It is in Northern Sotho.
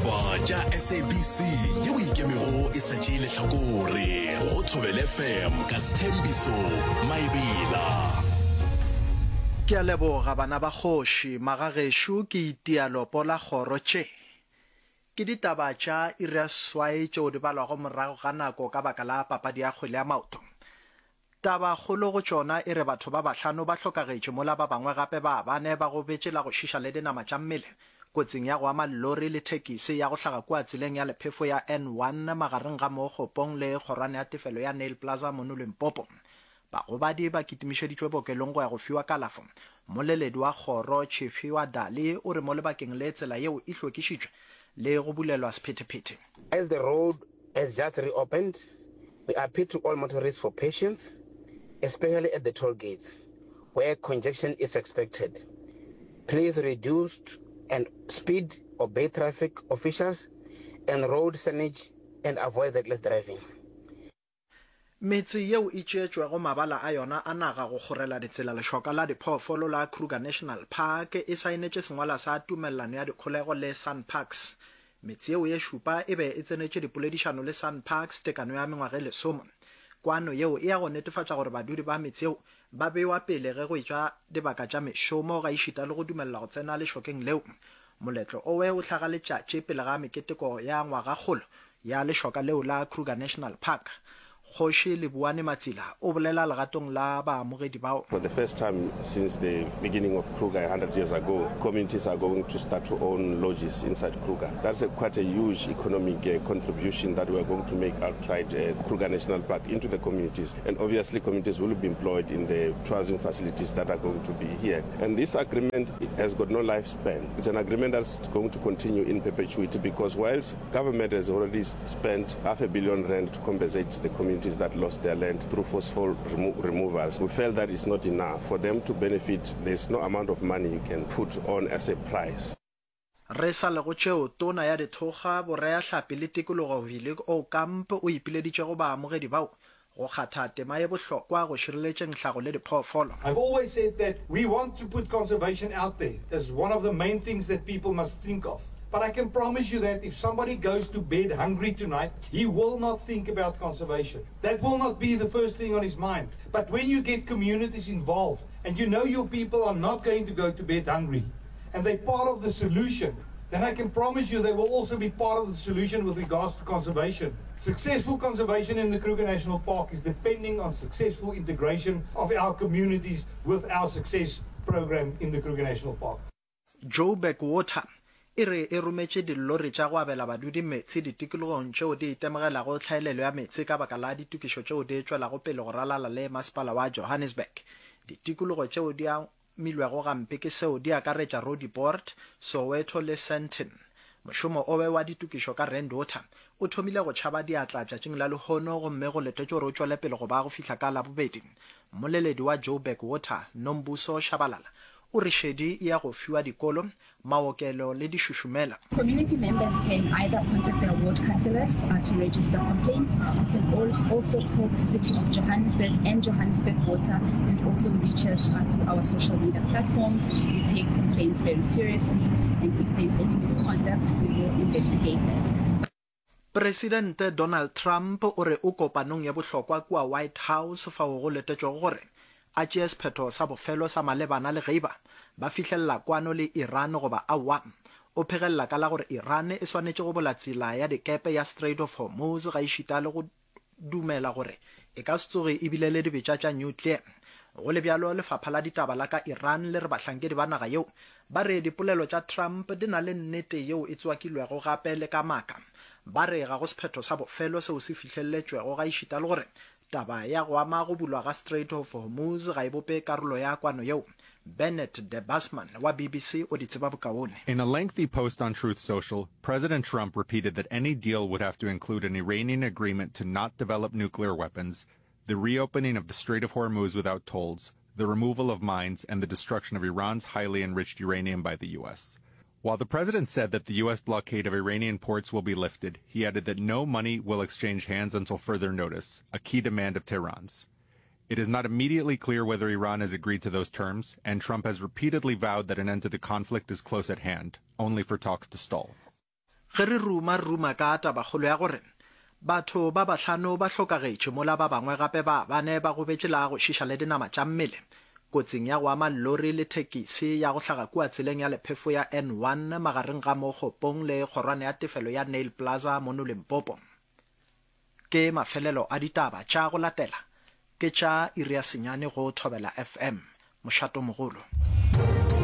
Ditaba tša SABC yeo e ikemego e sa tšee lehlakore go Thobela FM ka Sthembiso Maebela. Ke a leboga bana ba kgoši, magagešo ke itia lopo la kgoro tše. Ke ditaba tša iri ya seswai tšeo di balwago morago ga nako ka baka la papadi ya kgwele ya maoto. Tabakgolo go tšona e re batho ba bahlano ba hlokagetše mola ba bangwe gape ba bane ba gobetše la go šiša le dinama tša mmele kotsing ya go ama llori le thekisi ya go hlaga kua tseleng ya lephefo ya N1 magareng ga Mookgopong le kgorwane ya tefelo ya Nail Plaza mono Limpopo. Bagobadi ba kitimišeditšwe bookelong go ya go fiwa kalafo. Mmoleledi wa kgoro Tshifhiwa Dali o re mo lebakeng le tsela yeo e hlwekišitšwe le go bulelwa sephethephethe. As the road has just reopened, we appeal to all motorists for patience, especially at the toll gates, where congestion is expected. Please reduce and speed, obey traffic officials and road signage and avoid reckless driving. Metse yeo e tšeetšwego mabala a yona a naga go kgorela ditsela lešoka la diphoofolo la Kruger National Park e saenetše sengwala sa tumellano ya dikholego le SANParks. Metse yeo ye šupa e be e tsenetše dipoledišano le SANParks tekano ya mengwaga e lesome. Kwano yeo e ya go netefatša gore badudi ba metse yeo ba bewa pele ge go etšwa dibaka tša mešomo gaešita le go dumelelwa go tsena lešokeng leo. Moletlo owe o hlaga letšatši pele ga meketeko ya ngwagakgolo ya lešoka leo la Kruger National Park. Kgoši Lebuane Matsila o bolela legatong la baamogedi bao. For the first time since the beginning of Kruger 100 years ago, communities are going to start to own lodges inside Kruger. That's a quite a huge economic uh, contribution that we are going to make outside uh, Kruger National Park into the communities. And obviously communities will be employed in the tourism facilities that are going to be here. And this agreement has got no lifespan. It's an agreement that's going to continue in perpetuity because whilst Government has already spent half a billion rand to compensate the communities that lost their land through forceful remo removals. We felt that it's not enough. For them to benefit, there's no amount of money you can put on as a price. Re sa le go tšeo, Tona ya Dithokga, Boreahlapi le Tikologo Willie Aucamp o ipileditše go baamogedi bao go kgatha tema ye bohlokwa go šireletšeng hlago le diphoofolo. I've always said that we want to put conservation out there as one of the main things that people must think of. But I can promise you that if somebody goes to bed hungry tonight, he will not think about conservation. That will not be the first thing on his mind. But when you get communities involved and you know your people are not going to go to bed hungry and they're part of the solution, then I can promise you they will also be part of the solution with regards to conservation. Successful conservation in the Kruger National Park is depending on successful integration of our communities with our success program in the Kruger National Park. Joburg Water e re e rometše dillori tša go abela badudi meetse ditikologong tšeo di itemogelago tlhaelelo ya meetse ka baka la ditokišo tšeo di tšwelago pele go ralala le masepala wa Johannesburg. Ditikologo tšeo di amilwego gampe ke seo di akaretša Roodepoort, Soweto le Sandton. Mošomo owe wa ditokišo ka Rand Water o thomile go tšhaba diatla tšatšing la lehono gomme go letetšwe gore o tšwele pele go ba go fihla ka Labobedi. Mmoleledi wa Joburg Water, Nombuso Shabalala, o re šedi e ya go fiwa dikolo, maokelo le dišušumela. Community members can either contact their ward councillors to register complaints. You can also call the City of Johannesburg and Johannesburg Water and also reach us through our social media platforms. We take complaints very seriously and if there's any misconduct, we will investigate that. Presidente Donald Trump o re o kopanong ya bohlokwa kua White House fao go letetšwego gore a tšee sephetho sa bofelo sa malebana le ge eba ba fihlelela kwano le Iran goba aowa. O phegelela ka la gore Iran e swanetše go bula tsela ya dikepe ya Strait of Hormuz gaešita le go dumela gore e ka se tsoge e bile le dibetša tša nuclear. Go le bjalo, lefapha la ditaba la ka Iran le re bahlankedi ba naga yeo ba re dipolelo tša Trump di na le nnete yeo e tswakilwego gape le ka maaka. Ba re ga go sephetho sa bofelo seo se fihleletšwego gaešita le gore taba ya go ama go bulwa ga Strait of Hormuz ga e bope karolo ya kwano yeo. Bernard de Busman wa BBC o di tseba bokaone. In a lengthy post on Truth Social, President Trump repeated that any deal would have to include an Iranian agreement to not develop nuclear weapons, the reopening of the Strait of Hormuz without tolls, the removal of mines, and the destruction of Iran's highly enriched uranium by the U.S. While the president said that the U.S. blockade of Iranian ports will be lifted, he added that no money will exchange hands until further notice, a key demand of Tehran's. It is not immediately clear whether Iran has agreed to those terms, and Trump has repeatedly vowed that an end to the conflict is close at hand, only for talks to stall. Ge re ruma, re ruma ka tabakgolo ya gore batho ba bahlano ba hlokagetše mola ba bangwe gape ba bane ba gobetše la go šiša le dinama tša mmele kotsing ya go ama llori le thekisi ya go hlaga kua tseleng ya lephefo ya N1 magareng ga Mokgopong le kgorwane ya tefelo ya Nail Plaza mono Limpopo. Ke mafelelo a ditaba tša go latela ke tša iri ya senyane go Thobela FM, mošatomogolo.